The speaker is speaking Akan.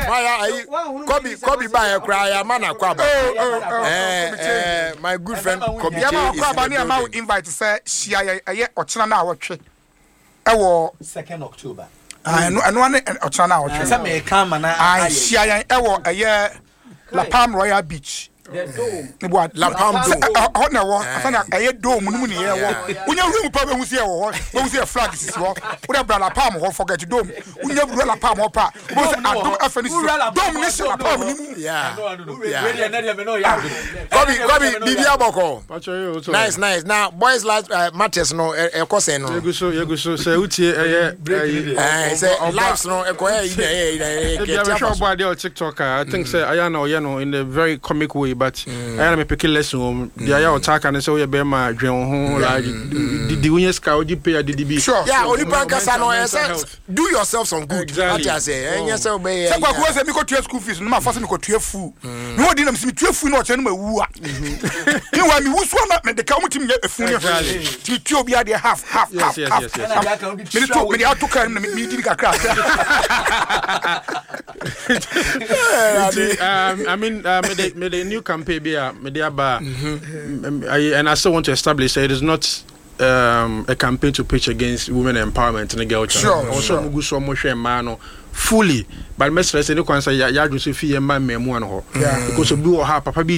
Fire ayi Kobe ba yɛ koraa yɛ ama na kɔ aba. Oh, Kobe Che. My good friend Kobe Che Yɛma is wakɔ aba in ne the yɛma wo building. invite sɛ hyia yɛn, ɛyɛ ɔkyena no a wɔtwe ɛwɔ 2nd October. Ah, ɛno ane ɔkyena no a wɔtwe. Sɛ meka ama na Ah, ayɛ. hyia yɛn ɛwɔ ɛyɛ La Palm Royal Beach. The Dome. Ne bo La Palm sɛ Dome. Hɔ na ɛwɔ asa na ɛyɛ dome no mu ne yɛwɔ. Wonya wura mu pa, bɛhu sɛ yɛwɔ hɔ, bɛhu sɛ yɛ flag sisi hɔ. Wode bra La Palm hɔ, forget dome. Wonya wura La Palm hɔ pa, wobɛhu sɛ Adom afɛ no sisi hɔ. Dome ne hyɛ La Palm no mu. Kobe, Kobe, biribi abɔkɔ. Pacho yi o so. Nice, nice. Na boys last matters no ɛkɔ sɛn no? Yegu so, yegu so. Sɛ wotie ɛyɛ ɛyi. Sɛ lives no ɛkɔ yɛ yi na ɛyɛ yi na ɛyɛ Ebi kɛtɛ abɛhwɛ aba so. ɔbɔ adeɛ wɔ TikTok a, I think sɛ ayɛ na ɔyɛ no in a very comic way, but ayɛ na me pick lesson wɔ mu. Deɛ ayɛ a ɔtaa ka ne sɛ woyɛ bɛrima a, dwen wo ho, like didi, wonyɛ sika wogye pay a, didi bi. Yeah, onipa nkasa no Mental ɛsɛ health. do yourself some good. Exactly. Ate ase, ɛnyɛ sɛ wobɛyɛ. Sɛ Kwaku wɔ sɛ mekɔtua school fees no, mafa sɛ mekɔtua fuu me hɔ di nam sɛ metua fuu no, ɔkyerɛ no mawu a mewa mewu so a na mede ka womtumi nyɛ ɛfu ne hwee, nti metua obi adeɛ half half half half. Mede to, mede ato kaa no mu na medi ne kakra. Nti, I mean, mede new campaign bi a mede aba a, and I still want to establish that it is not a campaign to preach against women empowerment ne girl child. Ɔwɔ sɛ ɔmo gu so ɔmo hwɛ mmaa no fully, but mɛsrɛ sɛ ne kwan sɛ yɛadwene so fi yɛn mma mmaamua no hɔ because obi wɔ ha papa bi.